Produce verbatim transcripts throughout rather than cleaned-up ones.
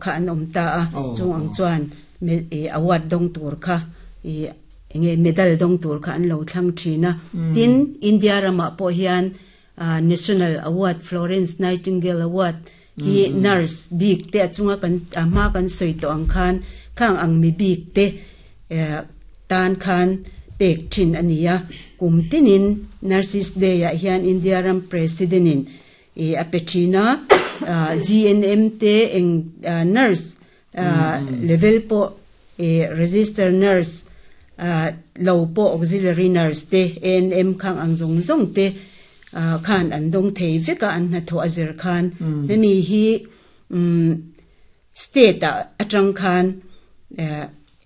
kha an om ta a chung ang chuan me award dong tur kha i enge medal dong tur kha an lo thlang thina tin India rama po hian National Award Florence Nightingale Award hi nurse big te chunga kan ma kan soi to ang khan khang ang mi big te tan khan pek thin ania kum tinin Nurses Day a hian India ram president in e apethina G N M te eng nurse level po e register nurse lo po auxiliary nurse te N M khang ang zong zong te khan an dong thei veka an na tho azir khan mi hi state atang khan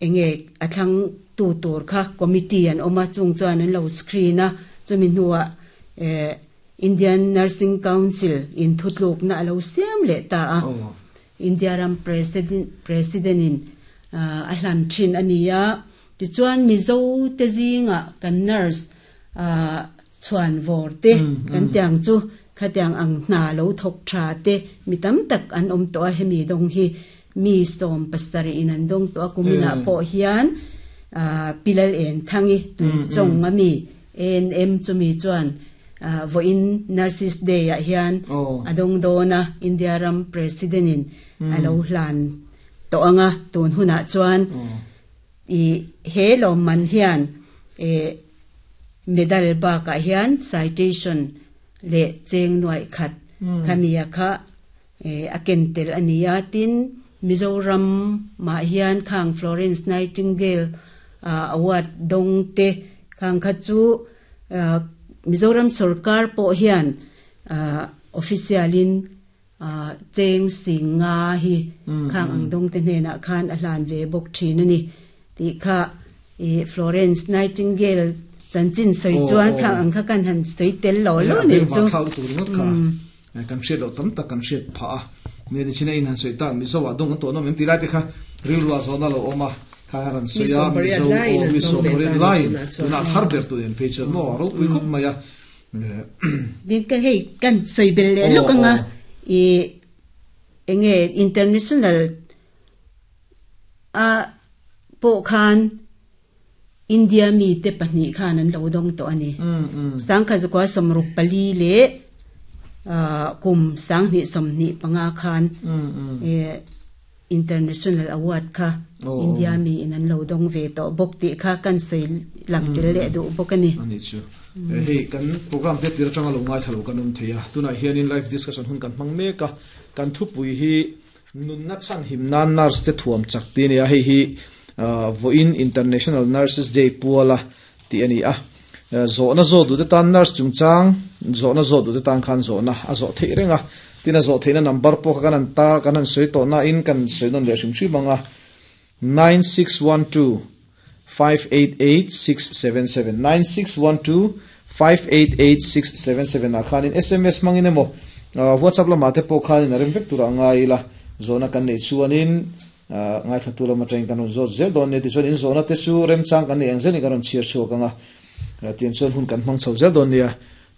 enge athlang tu tur kha committee an oma chung chuan an lo screen a chumi nuwa Indian Nursing Council in thutluk na alo siam le ta a India ram president president in a hlan thin ania ti chuan Mizo te zinga kan nurse a chuan vor te kan tiang chu khatiang ang na lo thok tha te mi tam tak an om to a hemi dong hi mi som pasari in an dong to kumina po hian a pilal en thangi tu chong ami N M chumi chuan vo in Nurses Day a hian adong dona India ram president in alo hlan to anga tun huna chuan i he lo man hian e medal ba ka hian citation le cheng noi khat khamia kha e akentel ania tin Mizoram ma hian khang Florence Nightingale award dong te khang kha chu Mizoram sarkar po hian officialin cheng singa hi khang ang dong te hne na khan a hlan ve bok thin ani ti kha e Florence Nightingale chan chin soi chuan khang ang kha kan han soi tel lo lo ni chu khau tu ringot kha kan hriat lo tam tak kan hriat pha a ne ni china in han soi ta Mizo a dong to no mem ti lai te kha ril ruwa zona lo oma kha ran soya Mizo o Mizo pariat line na thar ber tu en page mo ro pui khop maya din ka hei kan soi bel le lo ka nga e enge international a po khan India mi te pahnih khan an lo dong to ani sang kha zakwa somruk pali le kum sang ni somni panga khan e international award kha India mi in an lo dong ve to bok ti kha kan sei lang tel le du bok ani ani chu hei kan program te tir changa lo ngai thalo kan um theia tuna hian in live discussion hun kan hmang me ka kan thu pui hi nun na chan him nan nurse te thuam chak ti ne a hei hi vo in International Nurses Day puala ti ani a zo na zo du te tan nurse chungchang zo na zo du te tan khan zo na a zo thei renga tina zo theina number po kan an ta kan an soi to na in kan soi non le hrim hrim anga nine six one two five eight eight six seven seven nine six one two five eight eight six seven seven a khanin S M S mangin emo WhatsApp lama te po khanin arem vek tur anga ila zona kan nei chuanin ngai thatu lama teng kan zo zel don ne ti chuan in zona te su rem chang kan nei ang zel ni kan chiar chu kanga tian chuan hun kan hmang chho zel don nia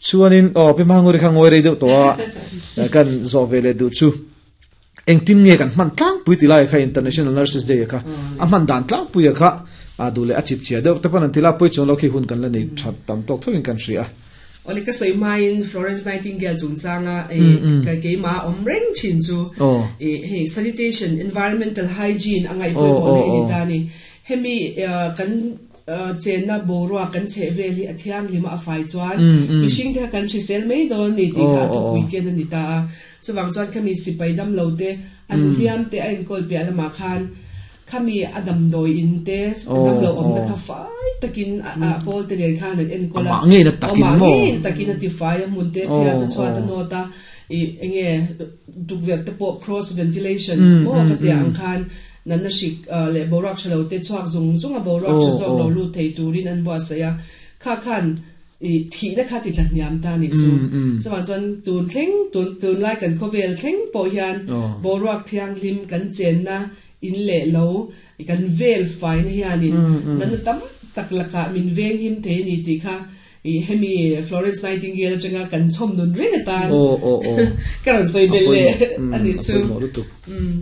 chuanin o pi manguri kha ngoi rei deuh to a kan zo vele du chu engtin nge kan hman tlang pui ti lai kha International Nurses Day kha a hman dan tlang pui kha a dule a chip chia deuh te pan an tila pui chon lo khi hun kan la nei that tam tok thovin kan hria ole ka soi main Florence Nightingale chung changa e ka ke ma om reng chin chu e hey sanitation environmental hygiene angai pui mo ne ni ta ni hemi kan chen na borwa kan che veli athiang lima a fai chuan mi sing the kan hrisel mai don ni ti kha tu weekend ani ta chuwang chuan khami sipai dam lo te an hliam te a in kol pe alama khan khami adam doi in te dam lo om ta kha fai takin a pol te len khan an en kola ma nge na takin mo takin ti fai mun te pia ta chwa ta no ta e enge dukver te po cross ventilation mo ka te ang khan nan na shik le borak shalo te chuak zung zung a borak chu zok lo lu thei turin an bo saya kha khan i thi na kha ti tlat niam ta ni chu chuan chuan tun thleng tun tun lai kan khovel thleng po hian borak thiang hlim kan chen na in le lo kan vel fai na hianin nan tam tak laka min veng him the ni ti kha i hemi Florence Nightingale changa kan chom nun ring atan o o o karon soi bel le ani chu um